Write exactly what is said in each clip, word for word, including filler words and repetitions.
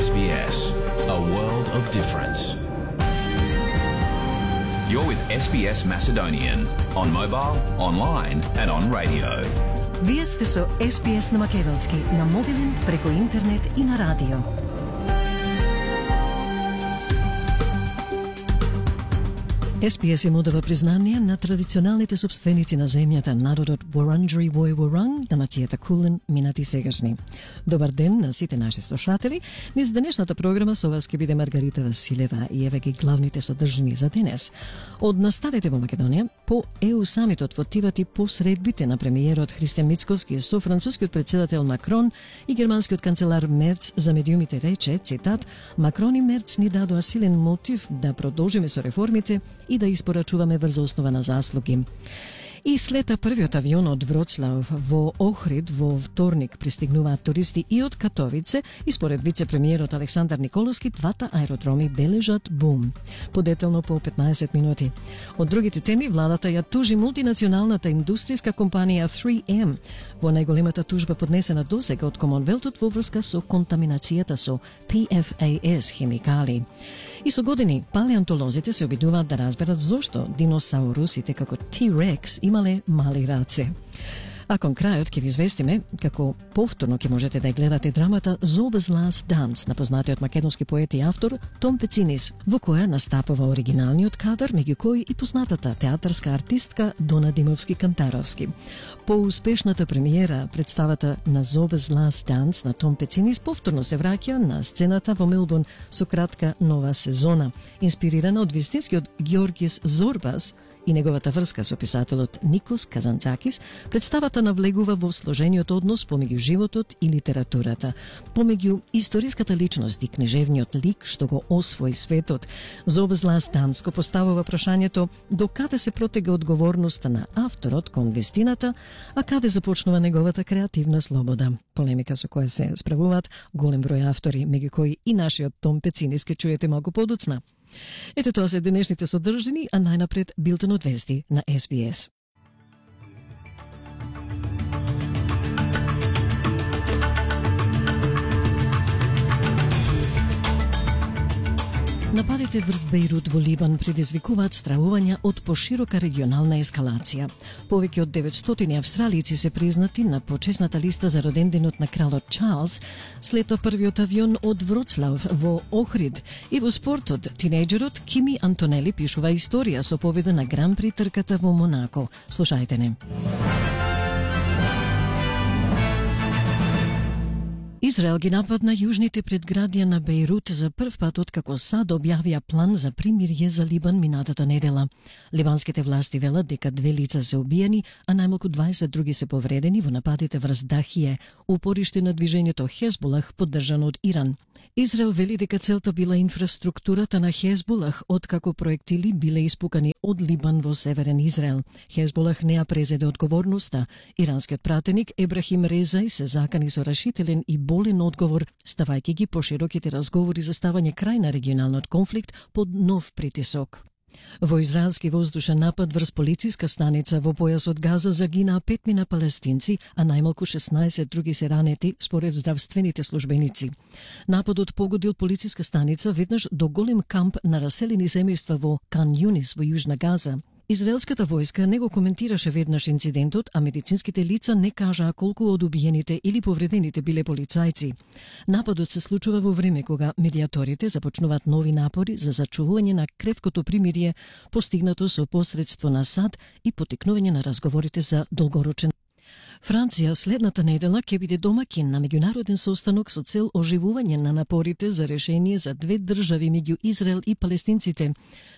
S B S, a world of difference. You're with S B S Macedonian on mobile, online and on radio. Вие сте со С Б С на македонски, на мобилен, преку интернет и на радио. С Б С им одава признание на традиционалните собственици на земјата, народот Wurundjeri Woi Wurrung, на нацијата Кулен, минати сегашни. Добар ден на сите наши слушатели. Низ денешната програма со вас ќе биде Маргарита Василева и еве ги главните содржини за денес. Од настаните во Македонија, по Е У самитот во Тивати по средбите на премиерот Христијан Мицкоски со францускиот претседател Макрон и германскиот канцелар Мерц за медиумите рече, цитат, Макрон и Мерц ни дадоа силен мотив да продолжиме со реформите и да испорачуваме врз основа на заслуги. И слета првиот авион од Вроцлав во Охрид во вторник пристигнуваат туристи и од Катовице и според вице-премиерот Александар Николовски двата аеродроми бележат бум. Подетелно по петнаесет минути. Од другите теми, владата ја тужи мултинационалната индустријска компанија три М во најголемата тужба поднесена досега од Комонвелтот во врска со контаминацијата со П Ф А С хемикали. И со години палеонтолозите се обидуваат да разберат зошто диносаурусите како Т-Рекс имале мали раце. А кон крајот ќе ви известиме како повторно ќе можете да гледате драмата Zobe's Last Dance на познатиот македонски поет и автор Том Пецинис, во која настапува оригиналниот кадар, меѓу кои и познатата театарска артистка Дона Димовски-Кантаровски. По успешната премиера, представата на Zobe's Last Dance на Том Пецинис повторно се враќа на сцената во Мелбурн со кратка нова сезона, инспирирана од вистинскиот Георгис Зорбас и неговата врска со писателот Никос Казанцакис. Представата навлегува во сложениот однос помеѓу животот и литературата, помеѓу историската личност и книжевниот лик што го освои светот. Zobe's Last Dance го поставува прашањето до каде се протега одговорноста на авторот кон вистината, а каде започнува неговата креативна слобода. Полемика со која се справуваат голем број автори, меѓу кои и нашиот Том Пецинис, ке чуете малку подоцна. Ето тоа се денешните содржини, а најнапред билтенот вести на С Б С. Нападите врз Бејрут во Либан предизвикуваат стравувања од поширока регионална ескалација. Повеќе од деветстотини австралици се признати на почесната листа за роденденот на кралот Чарлс след првиот авион од Вроцлав во Охрид. И во спортот, тинејџерот Кими Антонели пишува историја со победа на Гран При трката во Монако. Слушајте не. Израел ги нападна јужните предградија на Бејрут за прв пат откако САД објавија план за примирје за Либан минатата недела. Ливанските власти велат дека две лица се убиени, а најмалку дваесет други се повредени во нападите врз Дахие, упориште на движењето Хезболах поддржано од Иран. Израел вели дека целта била инфраструктурата на Хезболах откако проектили биле испукани од Либан во северен Израел. Хезболах не ја презеде одговорноста. Иранскиот пратеник Ебрахим Резај се закани со решителен и болен одговор, ставајќи ги пошироките разговори за ставање крај на регионалниот конфликт под нов притисок. Во израелски воздушен напад врз полициска станица во појасот Газа загинаа петмина палестинци, а најмалку шеснаесет други се ранети според здравствените службеници. Нападот погодил полициска станица веднаш до голем камп на раселени семејства во Кан Јунис во Јужна Газа. Израелската војска не го коментираше веднаш инцидентот, а медицинските лица не кажаа колку од убиените или повредените биле полицајци. Нападот се случува во време кога медиаторите започнуваат нови напори за зачувување на кревкото примирие постигнато со посредство на САД и потикнување на разговорите за долгорочен. Франција следната недела ќе биде домакин на меѓународен состанок со цел оживување на напорите за решение за две држави меѓу Израел и палестинците.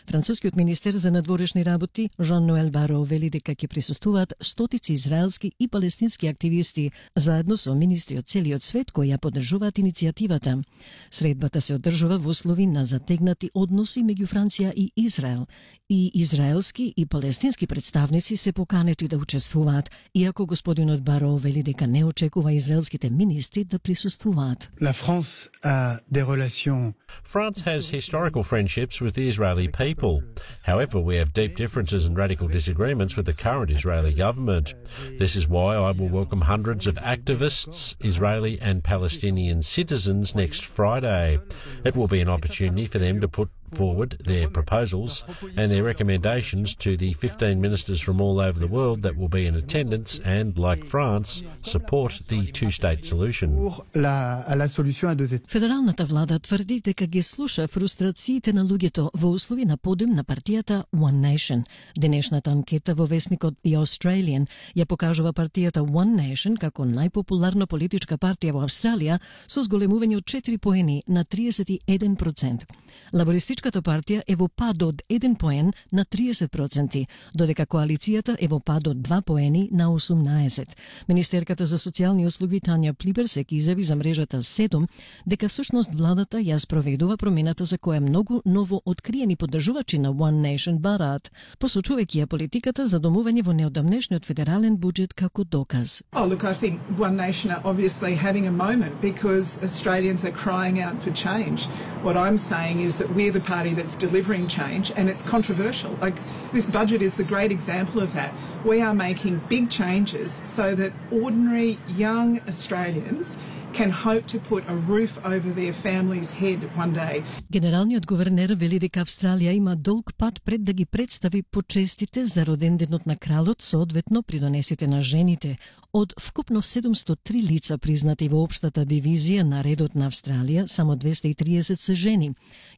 Францускиот министер за надворешни работи Жан-Ноел Баро вели дека ќе присуствуваат стотици израелски и палестински активисти, заедно со министри од целиот свет кои ја поддржуваат иницијативата. Средбата се одржува во услови на затегнати односи меѓу Франција и Израел. И израелски и палестински представници се поканети да учествуваат, иако господин Господинот Баро вели дека не очекува израелските министри да присуствуваат. La France a des relations. France has historical friendships with the Israeli people. However, we have deep differences and radical disagreements with the current Israeli government. This is why I will welcome hundreds of activists, Israeli and Palestinian citizens next Friday. It will be an opportunity for them to put forward their proposals and their recommendations to the fifteen ministers from all over the world that will be in attendance and, like France, support the two-state solution. La, la solution à deux États. Федералната влада тврди дека ги слуша фрустрациите на луѓето во услови на подем на партијата One Nation. Денешната анкета во весникот The Australian ја покажува партијата One Nation како најпопуларна политичка партија во Австралија со зголемување од четири поени на триесет и еден процент. Лабористичката партија е во пад од еден поен на триесет проценти, додека коалицијата е во пад од два поени на осумнаесет. Министерката за социјални услуги Тања Плиберсек изјави за мрежата седум дека всушност владата ја спроведува промената за која многу ново откриени поддржувачи на One Nation бараат, посочувајќи ја политиката за домување во неодамнешниот федерален буџет како доказ. Oh, look, I think One Nation are obviously having a moment because Australians are crying out for change. What I'm saying is that we're the party that's delivering change, and it's controversial. Like, this budget is the great example of that. We are making big changes so that ordinary young Australians can hope to put a roof over their family's head one day. Генералниот гувернер вели дека Австралија има долг пат пред да ги представи почестите за роденденот на кралот, соодветно придонесите на жените. Од вкупно седумстотини и три лица признати во општата дивизија на редот на Австралија, само двесте и триесет се жени.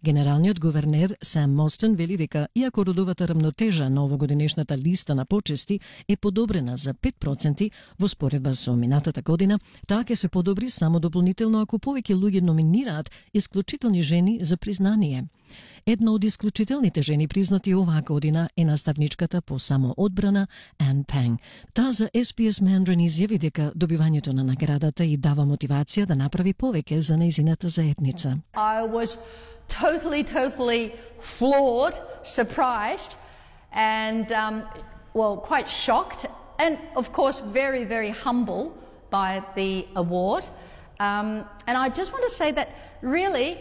Генералниот гувернер Сам Мостен вели дека иако родовата рамнотежа на овогодинешната листа на почести е подобрена за пет проценти во споредба со минатата година, таа ќе се подобри само дополнително ако повеќе луѓе номинираат исклучителни жени за признание. Една од исклучителните жени признати оваа година е наставничката по самоодбрана Ан Пенг. Таа за Ес Би Ес Mandarin изјави дека добивањето на наградата и дава мотивација да направи повеќе за нејзината заедница. I was totally, totally floored, surprised, and um, well, quite shocked, and of course very, very humble by the award. Um, and I just want to say that really,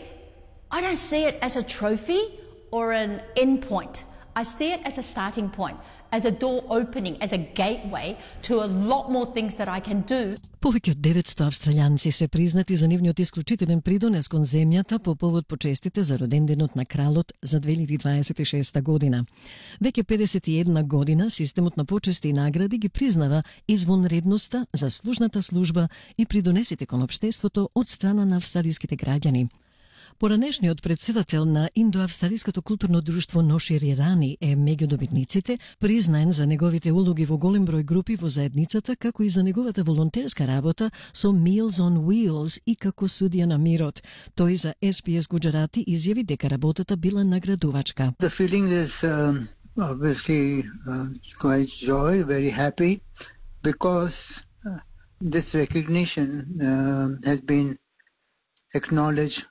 I don't see it as a trophy or an end point. I see it as a starting point, as a door opening, as a gateway to a lot more things that I can do. Повеќе од деветсто австралијанци се признати за нивниот исклучителен придонес кон земјата по повод почестите за роденденот на кралот за две илјади дваесет и шеста година. Веќе педесет и една година системот на почести и награди ги признава извонредноста, заслужната служба и придонесите кон општеството од страна на австралиските граѓани. Поранешниот председател на Индоавстралиското културно друштво Ношир Ирани е меѓу добитниците, признаен за неговите улоги во голем број групи во заедницата, како и за неговата волонтерска работа со Meals on Wheels и како судија на мирот. Тој за Ес Би Ес Гуџарати изјави дека работата била наградувачка. The feeling is um, obviously uh, quite joy, very happy, because uh, this recognition uh, has been acknowledged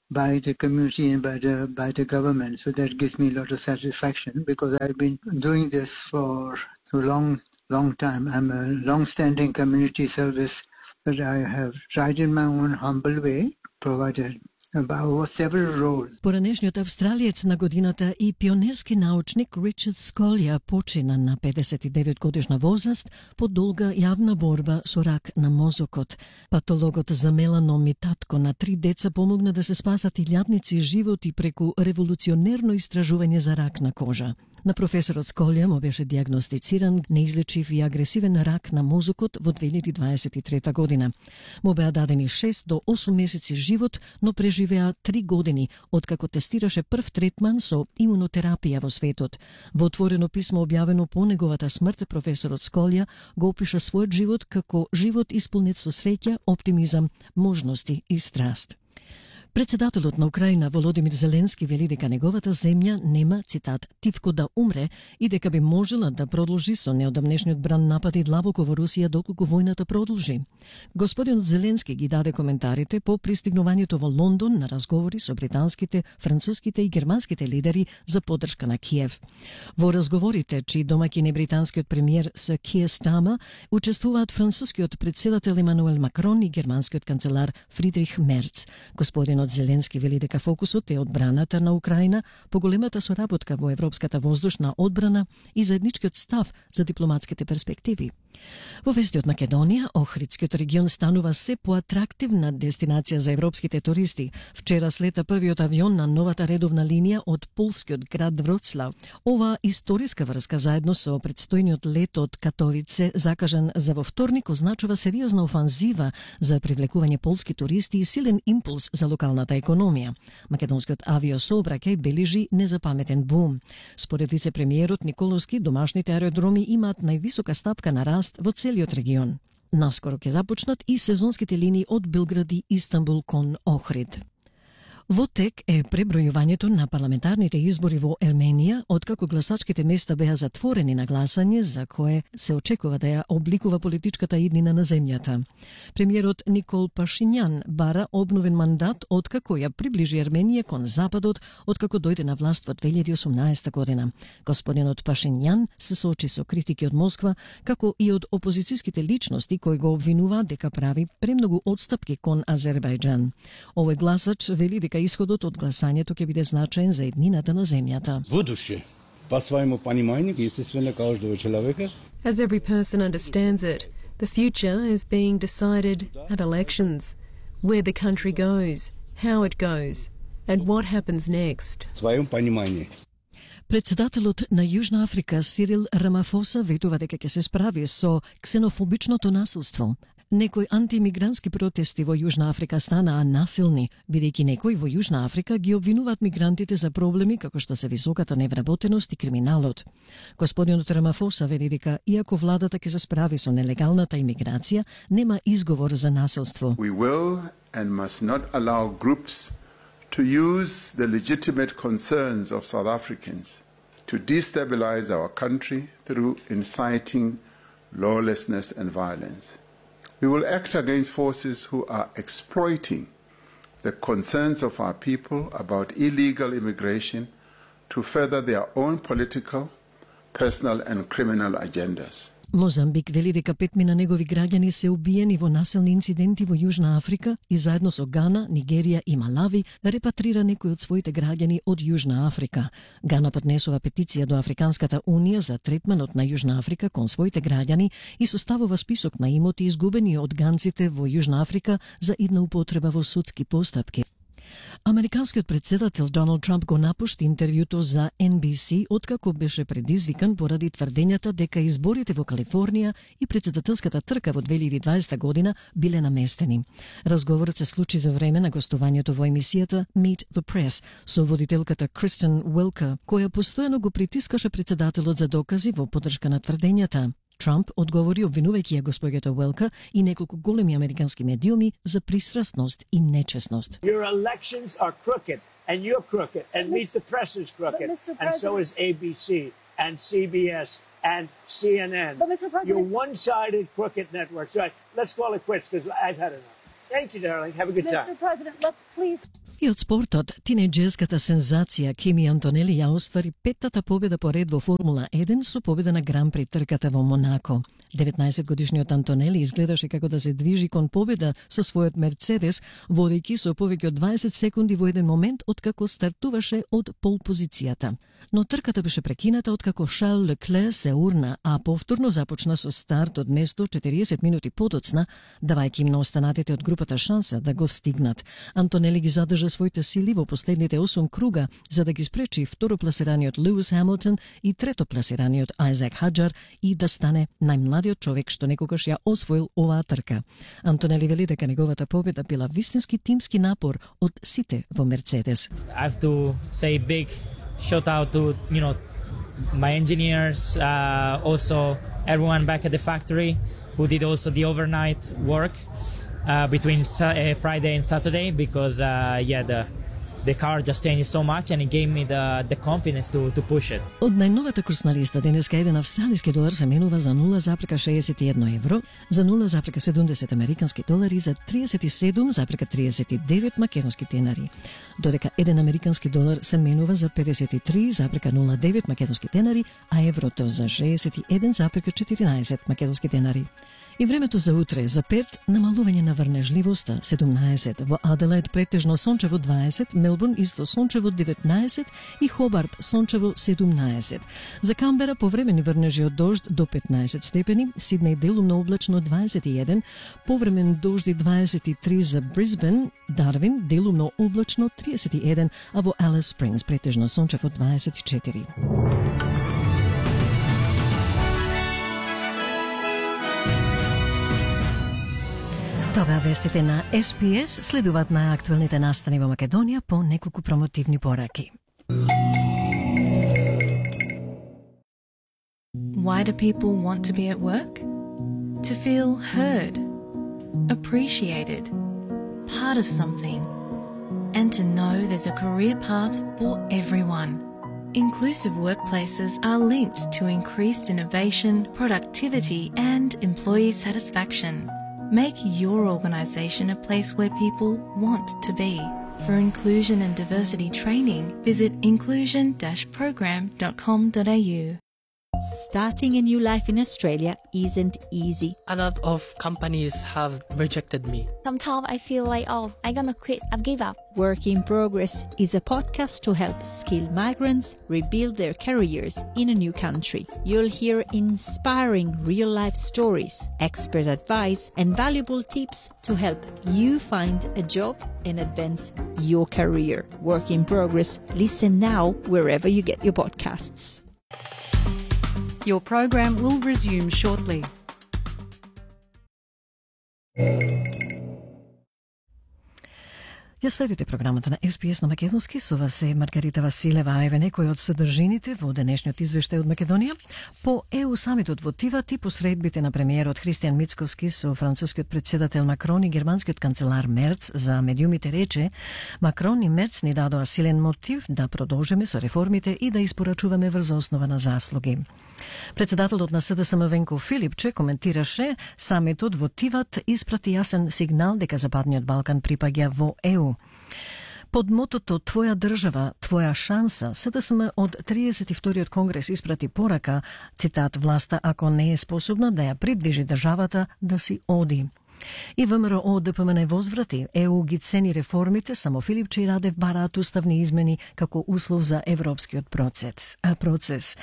by the community and by the by the government. So that gives me a lot of satisfaction because I've been doing this for a long, long time. I'm a long-standing community service that I have tried in my own humble way, provided about several roles. Поранешниот австралиец на годината и пионерски научник Ричард Сколја почина на педесет и девет годишна возраст по долга јавна борба со рак на мозокот. Патологот за меланом и татко на три деца помогна да се спасат илјадници животи преку револуционерно истражување за рак на кожа. На професорот Сколја му беше диагностициран неизлечив и агресивен рак на мозокот во две илјади дваесет и трета година. Му беа дадени шест до осум месеци живот, но преживеа три години, откако тестираше прв третман со имунотерапија во светот. Во отворено писмо објавено по неговата смрт, професорот Сколја го опиша својот живот како живот исполнет со среќа, оптимизам, можности и страст. Председателот на Украина Володимир Зеленски вели дека неговата земја нема, цитат, тивко да умре и дека би можела да продолжи со неодамнешниот бран напади длабоко во Русија доколку војната продолжи. Господинот Зеленски ги даде коментарите по пристигнувањето во Лондон на разговори со британските, француските и германските лидери за поддршка на Киев. Во разговорите, чии домаќин е британскиот премиер Сир Киер Стармер, учествуваат францускиот председател Емануел Макрон и германскиот канцелар Фридрих Мерц. Господинот Зеленски вели дека фокусот е одбраната на Украина, поголемата соработка во европската воздушна одбрана и заедничкиот став за дипломатските перспективи. Во вести од Македонија, Охридскиот регион станува се поатрактивна дестинација за европските туристи. Вчера слета првиот авион на новата редовна линија од полскиот град Вроцлав. Ова историска врска заедно со предстојниот лет од Катовице, закажан за во вторник, означува сериозна офанзива за привлекување полски туристи и силен импулс за локалната економија. Македонскиот авиосообраќај бележи незапаметен бум. Според вице-премиерот Николовски, домашните аеродроми имаат највисока стапка на раст во целиот регион. Наскоро ќе започнат и сезонските линии од Белград и Истанбул кон Охрид. Во тек е пребројувањето на парламентарните избори во Ерменија, откако гласачките места беа затворени на гласање, за кое се очекува да ја обликува политичката иднина на земјата. Премиерот Никол Пашињан бара обновен мандат откако ја приближи Ерменија кон Западот, откако дојде на власт во две илјади и осумнаесета година. Господинот Пашињан се соочи со критики од Москва, како и од опозицијските личности кои го обвинуваат дека прави премногу отстапки кон Азербајџан. Овој гласач вели дека исходот од гласањето ќе биде значаен за еднината на земјата. Будуще, по своему пониманию, естествено, каждого человека. As every person understands it, the future is being decided at elections. Where the country goes, how it goes, and what happens next. В своем понимании. Председателот на Јужна Африка Сирил Рамафоса ветува дека ќе се справи со ксенофобичното насилство. Некои антимигрантски протести во Јужна Африка станаа насилни, бидејќи некои во Јужна Африка ги обвинуваат мигрантите за проблеми како што се високата невработеност и криминалот. Господинот Рамафоса вели дека иако владата ќе се справи со нелегалната имиграција, нема изговор за насилство. We will and must not allow groups to use the legitimate concerns of South Africans to destabilize our country through inciting lawlessness and violence. We will act against forces who are exploiting the concerns of our people about illegal immigration to further their own political, personal and criminal agendas. Мозамбик вели дека петми на негови граѓани се убиени во насилни инциденти во Јужна Африка и заедно со Гана, Нигерија и Малави репатрира некои од своите граѓани од Јужна Африка. Гана поднесува петиција до Африканската унија за третманот на Јужна Африка кон своите граѓани и составува список на имоти изгубени од ганците во Јужна Африка за идна употреба во судски постапки. Американскиот председател Доналд Трамп го напушти интервјуто за Ен Би Си откако беше предизвикан поради тврдењата дека изборите во Калифорнија и председателската трка во две илјади и дваесета година биле наместени. Разговорот се случи за време на гостувањето во емисијата Meet the Press со водителката Кристен Уелкер, која постојано го притискаше председателот за докази во поддршка на тврдењата. Трамп одговори обвинувајќи ја госпоѓата Уелка и неколку големи американски медиуми за пристрасност и нечесност. Your elections are crooked and you're crooked and Meet the Press is crooked and so is A B C and C B S and C N N. You're one-sided crooked networks. Right, let's call it quits because I've had enough. Thank you, darling. Have a good time. Mister President, let's please... И од спортот, тинејџерската сензација Кими Антонели ја оствари петтата победа по ред во Формула еден со победа на Гран при трката во Монако. деветнаесетгодишниот Антонели изгледаше како да се движи кон победа со својот Мерцедес, водејќи со повеќе од дваесет секунди во еден момент откако стартуваше од пол позицијата. Но трката беше прекината откако Шарл Леклер се урна, а повторно започна со старт од место четириесет минути подоцна, давајќи им на останатите од групата шанса да го стигнат. Антонели ги задржа своите сили во последните осум круга за да ги спречи второпласираниот Луис Хамилтон и третопласираниот Ајзек Хаџар и да стане најмладиот човек што некогаш ја освоил оваа трка. Антонели вели дека неговата победа била вистински тимски напор од сите во Мерцедес. I have to say big shout out to, you know, my engineers, uh, also everyone back at the factory who did also the overnight work. uh, between uh, Friday and Saturday because uh, yeah the the car just changed so much and it gave me the the confidence to to push it. Од најновата курсна листа денеска еден австралиски долар се менува за нула запрека шеесет и едно евро, за нула запрека седумдесет американски долари, за триесет и седум запрека триесет и девет македонски денари, додека еден американски долар се менува за педесет и три запрека нула девет македонски денари, а еврото за шеесет и еден запрека четирнаесет македонски денари. И времето за утре, за Перт, намалување на врнежливоста седумнаесет, во Аделаид претежно сончево дваесет, Мелбурн исто сончево деветнаесет и Хобарт сончево седумнаесет. За Камбера повремени врнежи од дожд до петнаесет степени, Сиднеј делумно облачно дваесет и еден, повремен дожди дваесет и три за Брисбен, Дарвин делумно облачно триесет и еден, а во Алис Спрингс претежно сончево дваесет и четири. Това вестите на Ес Би Ес, следуваат на актуелните настани во Македонија по неколку промотивни пораки. Why do people want to be at work? To feel heard, appreciated, part of something, and to know there's a career path for everyone. Inclusive workplaces are linked to increased innovation, productivity, and employee satisfaction. Make your organisation a place where people want to be. For inclusion and diversity training, visit inclusion dash program dot com dot a u. Starting a new life in Australia isn't easy. A lot of companies have rejected me. Sometimes I feel like, oh, I'm gonna quit, I've give up. Work in Progress is a podcast to help skilled migrants rebuild their careers in a new country. You'll hear inspiring real-life stories, expert advice, and valuable tips to help you find a job and advance your career. Work in Progress. Listen now wherever you get your podcasts. Your program will resume shortly. Ја следите програмата на Ес Би Ес на македонски, со вас е Маргарита Василева, а еве некои од содржините во денешниот извештај од Македонија. По ЕУ самитот во Тиват и посредбите на премиерот Христијан Мицкоски со францускиот председател Макрон и германскиот канцелар Мерц за медиумите рече, Макрон и Мерц ни дадоа силен мотив да продолжиме со реформите и да испорачуваме врз основа на заслуги. Председателот на Се Де Ес Ем Венко Филипче коментираше самитот во Тиват испрати јасен сигнал дека Западниот Балкан припаѓа во ЕУ. Под мотото «Твоја држава, твоја шанса», Се Де Ес Ем од триесет и вториот конгрес испрати порака, цитат, власта ако не е способна да ја придвижи државата, да си оди. И ВМРО Д П М Н возврати, ЕУ ги цени реформите, само Филипче и Радев бараат уставни измени како услов за европскиот процес. процес.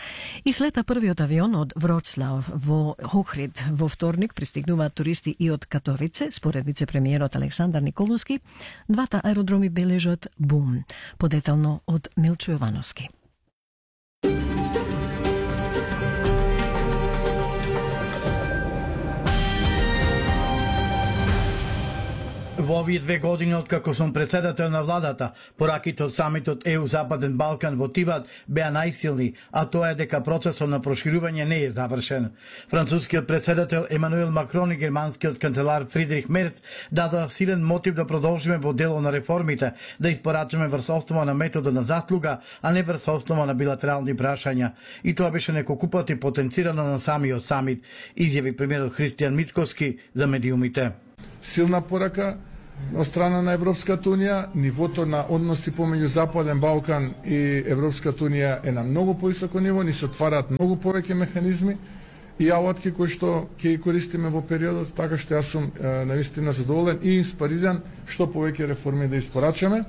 И слета првиот авион од Вроцлав во Охрид во вторник пристигнуваат туристи и од Катовице, според вице-премиерот Александар Николовски, двата аеродроми бележат бум. Подетално од Милчо Јовановски. Во овие две години откако сум председател на владата, пораките од самитот ЕУ Западен Балкан во Тиват беа најсилни, а тоа е дека процесот на проширување не е завршен. Францускиот председател Емануел Макрон и германскиот канцелар Фридрих Мерц дадоа силен мотив да продолжиме во дело на реформите, да испорачаме врз основа на метода на заслуга, а не врз основа на билатерални прашања. И тоа беше неколку пати потенцирано на самиот самит, изјави премиерот Христијан Мицкоски за медиумите. Силна порака од страна на Европската Унија, нивото на односи помеѓу Западен Балкан и Европската Унија е на многу повисоко ниво, ни се отвараат многу повеќе механизми и алатки кои што ќе ги користиме во периодот, така што јас сум навистина задоволен и инспириран што повеќе реформи да испорачаме.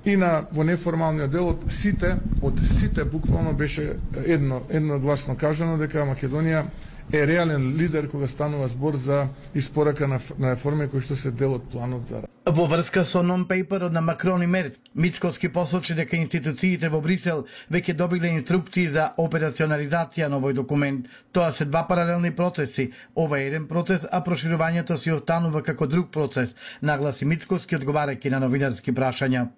И на во неформалниот дел од сите, од сите буквално беше едно едногласно кажано дека Македонија е реален лидер кога станува збор за испорака на, на реформи кои што се дел од планот за. Во врска со нон-пейперот на Макрон и Мерц, Мицкоски посочи дека институциите во Брисел веќе добиле инструкции за операционализација на овој документ. Тоа се два паралелни процеси. Ова е еден процес, а проширувањето си останува како друг процес, нагласи Мицкоски одговарајќи на новинарски прашања.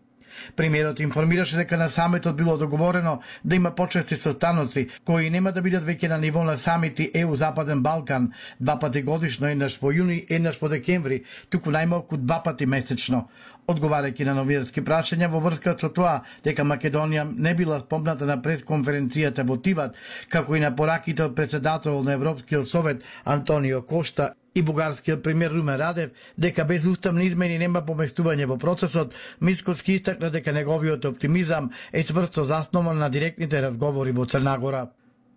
Премиерот информираше дека на самитот било договорено да има почести состаноци кои нема да бидат веќе на ниво на самити Е У Западен Балкан, два пати годишно, еднаш во јуни, еднаш во декември, туку најмалку два пати месечно. Одговарајќи на новинарски прашања во врска со тоа дека Македонија не била спомната на пресконференцијата во Тиват, како и на пораките од председател на Европскиот совет Антонио Кошта и бугарскиот премиер Румен Радев дека без уставни измени нема поместување во процесот, Мицкоски истакна дека неговиот оптимизам е цврсто заснован на директните разговори во Црна Гора.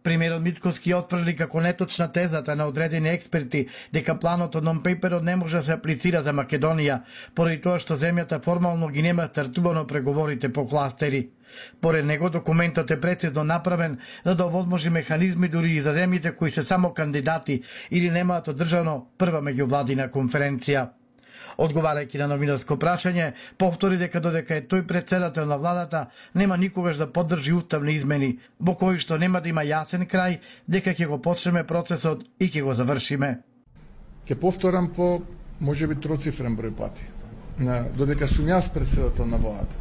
Премиерот Мицкоски отфрли како неточна тезата на одредени експерти дека планот од нон-пейперот не може да се аплицира за Македонија, поради тоа што земјата формално ги нема стартувано преговорите по кластери. Поред него документот е прецизно направен за да овозможи механизми дури и за земјите кои се само кандидати или немаат одржано прва меѓувладина конференција. Одговарајќи на новинарско прашање, повтори дека додека е тој председател на владата, нема никогаш да поддржи уставни измени, во кои што нема да има јасен крај, дека ќе го почнеме процесот и ќе го завршиме. Ќе повторам по можеби троцифрен број пати. Додека сум јас председател на владата,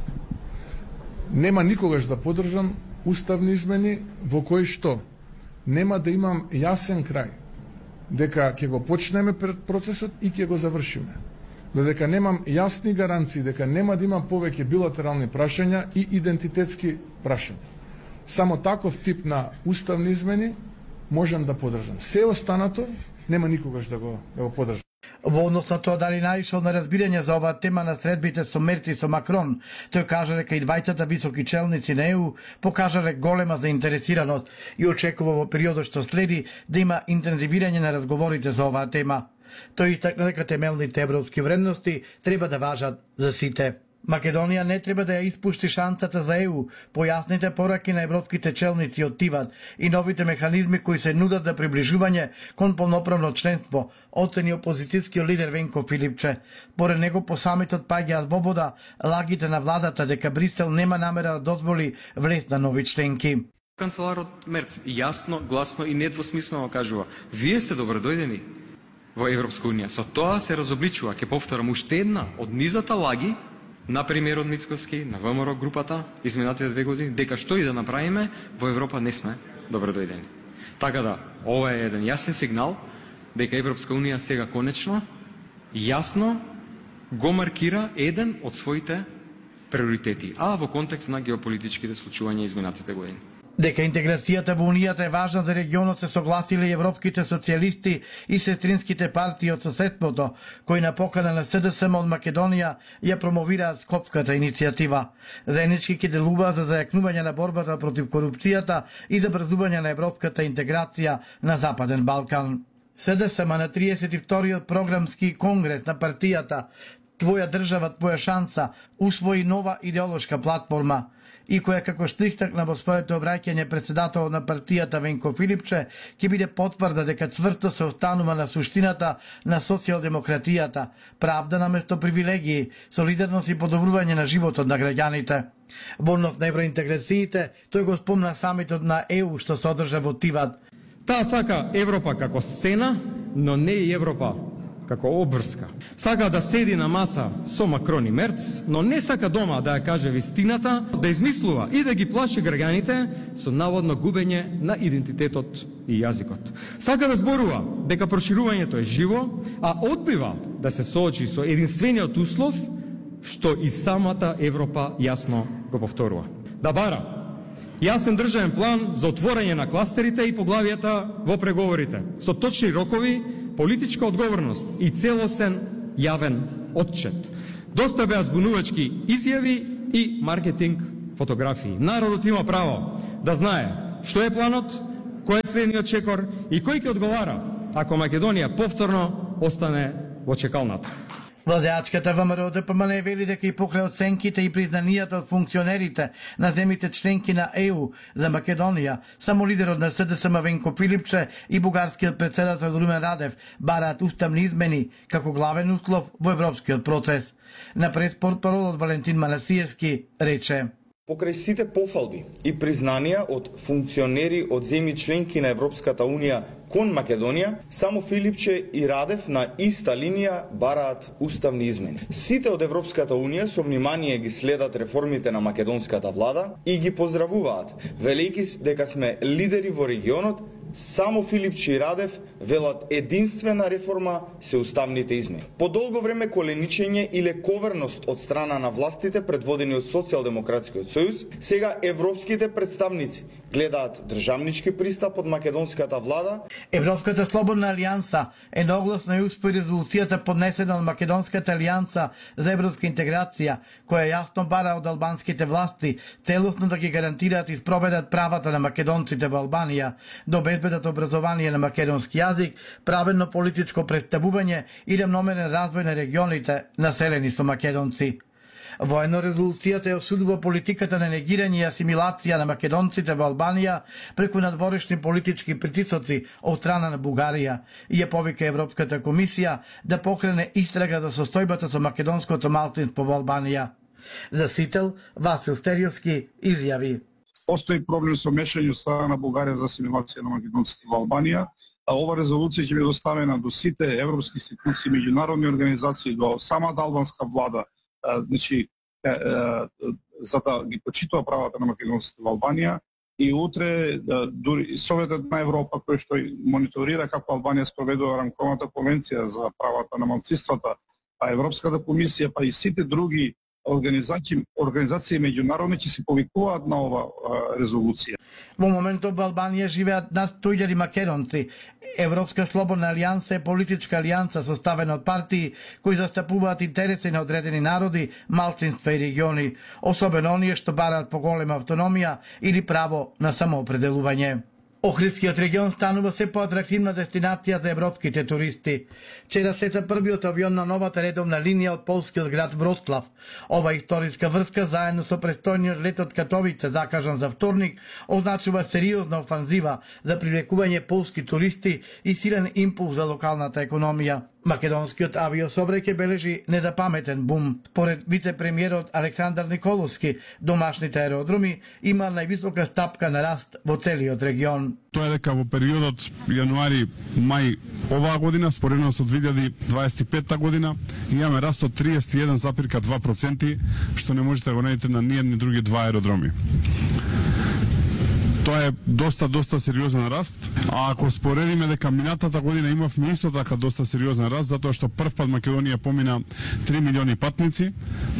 нема никогаш да поддржам уставни измени во кои што нема да имам јасен крај, дека ќе го почнеме процесот и ќе го завршиме. Додека немам јасни гаранции дека нема да имам повеќе билатерални прашања и идентитетски прашања. Само таков тип на уставни измени можам да поддржам. Се останато нема никогаш да го, да го поддржам. Во однос на тоа дали наишол на разбирање за оваа тема на средбите со Мерц и со Макрон, тој кажа дека и двајцата високи челници на Е У покажале голема заинтересираност и очекува во периодот што следи да има интензивирање на разговорите за оваа тема. Тој истакна дека темелните европски вредности треба да важат за сите. Македонија не треба да ја испушти шансата за Е У, појасните пораки на европските челници од Тиват и новите механизми кои се нудат за приближување кон полноправно членство, оцени опозицијскиот лидер Венко Филипче. Поред него по самитот паѓаат во вода лагите на владата дека Брисел нема намера да дозволи влез на нови членки. Канцеларот Мерц јасно, гласно и недвосмислено кажува: вие сте добродојдени во Европска унија. Со тоа се разобличува, ќе повторам, уште една од низата лаги на премиерот Мицкоски, на Вэ Ем Р групата, изминатите две години, дека што и да направиме, во Европа не сме добродојдени. Така да, ова е еден јасен сигнал дека Европска унија сега конечно, јасно го маркира еден од своите приоритети, а во контекст на геополитичките случувања изминатите години. Дека интеграцијата во Унијата е важна за регионот се согласиле и европските социјалисти и сестринските партии од соседството, кои на покана на С Д С М од Македонија ја промовираат Скопската иницијатива. Заеднички ќе делуваат за зајакнување на борбата против корупцијата и за брзување на европската интеграција на Западен Балкан. С Д С М на триесет и вториот програмски конгрес на партијата Твоја држава, твоја шанса усвои нова идеолошка платформа, и која, како што истакна во своето обраќање председател на партијата Венко Филипче, ќе биде потврда дека цврсто се останува на суштината на социјалдемократијата, правда наместо привилегии, солидарност и подобрување на животот на граѓаните. Во однос на евроинтеграциите, тој го спомна самитот на Е У што се одржа во Тиват. Таа сака Европа како сцена, но не и Европа како обврска. Сака да седи на маса со Макрон и Мерц, но не сака дома да ја каже вистината, да измислува и да ги плаши граѓаните со наводно губење на идентитетот и јазикот. Сака да зборува дека проширувањето е живо, а одбива да се соочи со единствениот услов што и самата Европа јасно го повторува. Да бара јасен државен план за отворање на кластерите и поглавијата во преговорите, со точни рокови, политичка одговорност и целосен јавен отчет. Доста беа збунувачки изјави и маркетинг фотографии. Народот има право да знае што е планот, кој е следниот чекор и кој ќе одговара ако Македонија повторно остане во чекалната. Владеачката Вэ Ем Р Д П М Н вели дека и покрај оценките и признанијата од функционерите на земите членки на Е У за Македонија, само лидерот на С Д С М Венко Филипче и бугарскиот председател Румен Радев бараат уставни измени како главен услов во европскиот процес. На преспортпаролот Валентин Манасиевски рече: Покрај сите пофалби и признанија од функционери од земји членки на Европската Унија кон Македонија, само Филипче и Радев на иста линија бараат уставни измени. Сите од Европската Унија со внимание ги следат реформите на македонската влада и ги поздравуваат, велејќи дека сме лидери во регионот. Само Филипче и Радев велат единствена реформа се уставните измени. По долго време коленичење и лековерност од страна на властите предводени од Социјалдемократскиот сојуз, сега европските представници гледаат државнички пристап од македонската влада. Европската слободна алијанса едногласно ја успои резолуцијата поднесена од Македонската алијанса за европска интеграција, која јасно бара од албанските власти целосно да ги гарантираат и спроведат правата на македонците во Албанија, да обезбедат образование на македонски јазик, праведно политичко представување и рамномерен развој на регионите населени со македонци. Воено резолуцијата ја осудува политиката на негирање и асимилација на македонците во Албанија преку надворешни политички притисоци од страна на Бугарија и ја повика Европската комисија да покрене истрага за состојбата со македонското малцинство во Албанија. За Сител, Васил Стериовски изјави: Постои проблем со мешање страна на Бугарија за асимилација на македонците во Албанија. А ова резолуција ќе биде доставена до сите европски институции, меѓународни организации, до самата албанска влада, значи, е, е, за да ги почитува правата на македонците во Албанија. И утре дури Советот на Европа, кој што мониторира како Албанија спроведува рамковната конвенција за правата на малцинствата, а Европската комисија, па и сите други организации, организации меѓународни ќе се повикуваат на ова а, резолуција. Во моментот во Албанија живеат над сто илјади македонци. Европска слободна алијанса е политичка алијанса составена од партии кои застапуваат интереси на одредени народи, малцинства и региони, особено оние што бараат поголема автономија или право на самоопределување. Охридскиот регион станува се поатрактивна дестинација за европските туристи. Вчера слета првиот авион на новата редовна линија од полскиот град Вроцлав. Ова историска врска заедно со престојниот лет од Катовице закажан за вторник означува сериозна офанзива за привлекување полски туристи и силен импулс за локалната економија. Македонскиот авиособрај ќе бележи незапаметен бум. Според вице-премиерот Александар Николовски, домашните аеродроми има највисока стапка на раст во целиот регион. Тоа е дека во периодот јануари-мај оваа година, споредно со две илјади дваесет и петта година, имаме раст од триесет и еден запирка два проценти, што не можете да го најдете на ниедни други два аеродроми. Тоа е доста, доста сериозен раст, а ако споредиме дека минатата година имавме исто така доста сериозен раст, затоа што прв пат Македонија помина три милиони патници,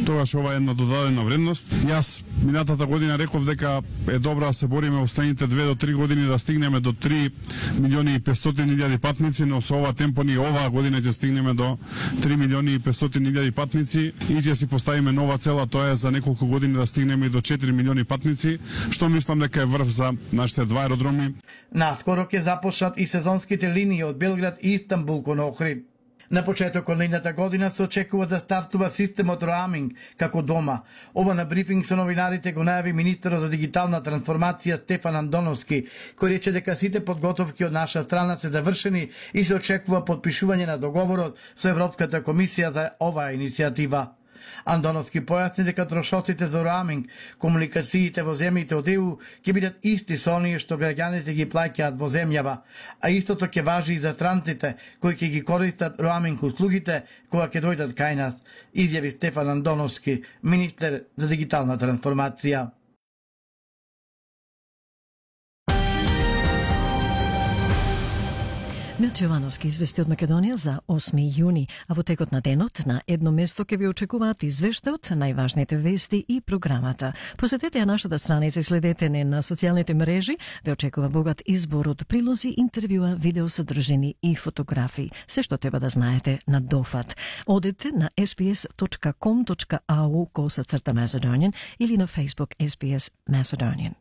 тогаш ова е една додадена вредност. Јас минатата година реков дека е добро да се бориме останите две до три години да стигнеме до три милиони и петстотини илјади патници, но со ова темпо ни оваа година ќе стигнеме до три милиони и петстотини илјади патници и ќе си поставиме нова цела, тоа е за неколку години да стигнеме и до четири милиони патници, што мислам дека е врв за нашите два аеродроми. Наскоро ќе започнат и сезонските линии од Белград и Истанбул кон Охрид. На почетокот на идната година се очекува да стартува системот роаминг како дома. Ова на брифинг со новинарите го најави министерот за дигитална трансформација Стефан Андоновски, кој рече дека сите подготовки од наша страна се завршени и се очекува подпишување на договорот со Европската комисија за оваа иницијатива. Андоновски појасни дека трошоците за роаминг, комуникациите во земјите од Е У ќе бидат исти со оние што граѓаните ги плаќаат во земјава, а истото ќе важи и за странците кои ќе ги користат роаминг услугите кога ќе дојдат кај нас, изјави Стефан Андоновски, министер за дигитална трансформација. Милче Јовановски извести од Македонија за осми јуни, а во текот на денот на едно место ќе ви очекуваат извештајот, најважните вести и програмата. Посетете ја нашата страница и следете не на социјалните мрежи, ве очекува богат избор од прилози, интервјуа, видеосодржини и фотографии. Се што треба да знаете на дофат. Одете на ес би ес точка ком точка ау косацрта Macedonian или на Facebook ес би ес Macedonian.